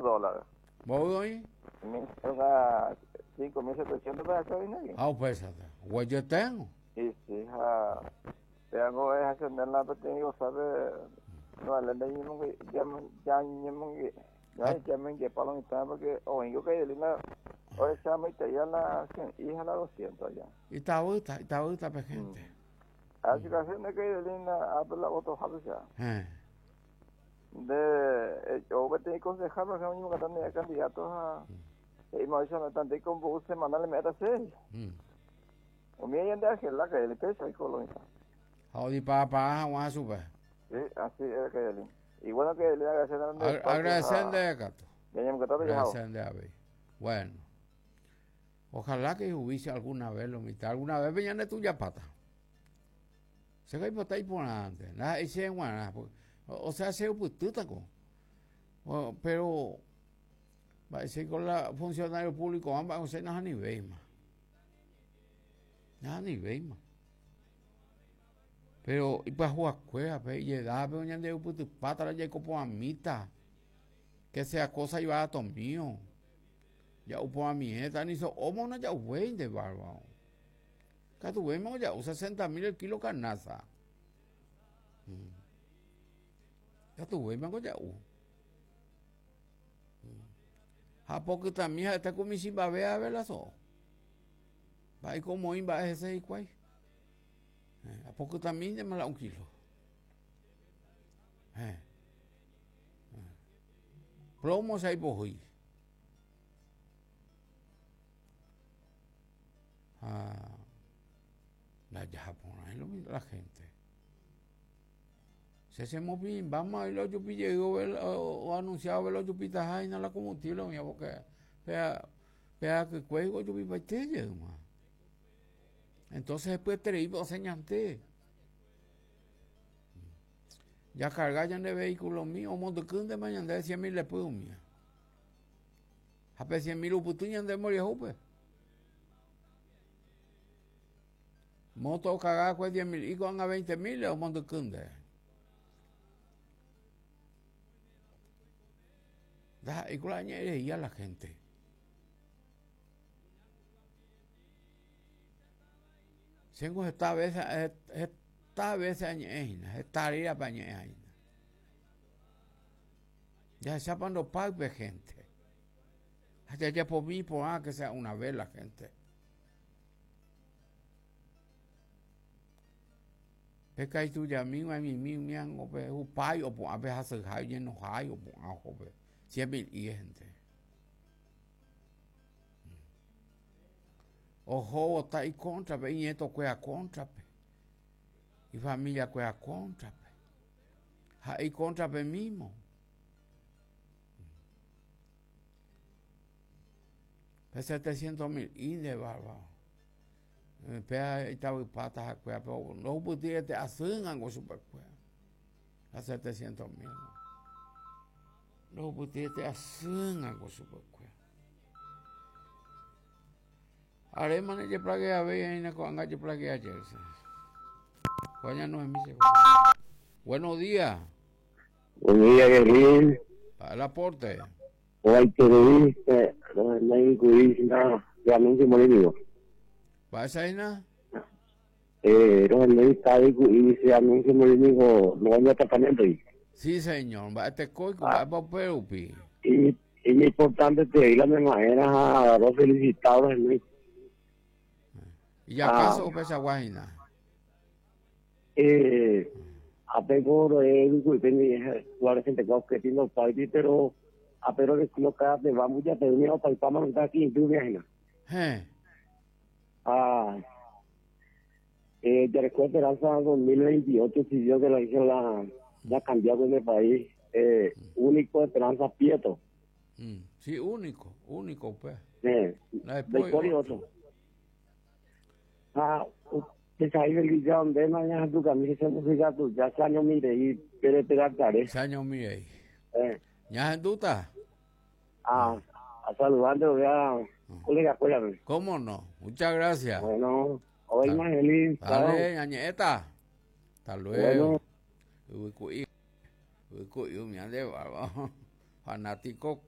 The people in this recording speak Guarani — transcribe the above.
Dólar. Mboy oĩ? 5.700 pe acá oĩne. Ha upéichata. Oguejyeténgo. Sí, sí, ha péango ehachanéla la peteĩ gosápe no vale ñañemongepa lo mitã porque oĩko Kairelina ohechamoiteia la 100 ha la 200 allá. Itavýta, itavýta pe gente. Ah, si casi ne Kairelina ápe la votohápe sea. Nde o peteĩ concejal por ejemplo oñemongeta ne candidato ha he'íma oicha ndéiko mboy semanal eme'ẽta chéve. Umi ñande argela Kairelina péicha oiko lo mitã. Ha odiparapara hag̃ua chupe. Sí, así es Kairelina. Y bueno Kairelina agradecer nde Agradecer nde katu. Ñañemongeta jahavo. Agradecer nde avei. Bueno. Ojalá que hubiese alguna vez lo mitad. Alguna vez ñande tuyapáta. Che ko aipota iporãnte, ndaha'éi chéve g̃uarã, o sea cheupytýtako. Pero mba'éichaiko la funcionario público-va mba'e osẽ nahanivéima. Nahanivéima. Pero ipyahuakuérape, ijedápe ñandeupytypáta la jaiko porãmíta. Que sea cosa ibarato mío. Ja'u porãmiéta, ni so'óma ndaja'uvéinte bárbaro. Katuvéima oja'u 60 mil el kilo carnaza. Katuvéima oja'u. Ha pokytami ha'ete ku michĩmbave ave la so'o. Mba'éiko omoĩ mba'e hese hikuái. Apokytamíntema la un kilo. Plomo che aipohýi. Ha ndajahaporãi lo la gente. Che chemopirĩmbáma oĩ la ojupi jey oanunciado la ojupitaha hína la combustible oĩva porque pe akykue ojupipaite jeýma. Entonces hepyetereípe osẽ ñande. Jakarga ñande vehículo-mi omondykýntema ñande cien mil repy umía. Ha pe cien mil upyty ñande mboriahúpe. Moto okaga kue diez mil y ko'ág̃a veinte mil omondyky nde. Ndaha'éi ko la añe'ẽreía la gente. Chéngo heta veces, heta veces añe'ẽ hína, heta rérape añe'ẽ hína. Jahechápa ndopáy pe gente. Ha jajapomi iporã que sea una vez la gente. Pe kaitujami g̃uaig̃uimi umi ángo pe hupái opu'ã pe hasyhái oñenohái opu'ã oho pe cien mil gente. Ohóvo ta ikóntrape, iñetokuéra kóntrape, ifamiliakuéra kóntrape, ha'e ikóntrape mímo. Pe 700 mil inde bárbaro. Péa itavypáta hakuéra, pero ndohupytýi asýngango chupekuéra. La 700 mil. Ndohupytýi asýngango chupekuéra. Arémane jeplageavéi aína ko'ág̃a jeplagea jey. Ko'ág̃a Noemí che. Buenos días. Buen día, Guerrín. Para el aporte. Ovaiterei, rohenói na anuncio morínigo. Mba'éicha Eh, rohenói tavi se anuncio morínigo no añatapanéntoi. Sí, señor. Mba'e tekóiko, mba'épa upe rupi. Y importante te la misma era ha ro felicitado rohenói. ¿Y acaso upeichagua hína? Eh, apengo roe yvyku'ípe guardesentekua oketi ndopáiti pero ape rorecoloca pe vambu jate'ỹme opaipáma ro'yta ki'indýme hína. Héẽ. Ha eh, jareko esperanza 2028 si Dios que la hizo la ya cambiado en el país eh, único esperanza Prieto. Mm, sí, único, único pues. Eh, ndaipóri otro. Ha upéicha Elisa ndéma ñahendukami che música tuja che añomirei pere peratare. Che añomirei. Eh. Ñahendúta? Ah, a saludarte voy a colega cuérape. ¿Cómo no? Muchas gracias. Bueno, hoy más feliz. Dale, ñañe'ẽta. Hasta luego. Yvyku'i, yvyku'i umi ande bárbaro. Fanático.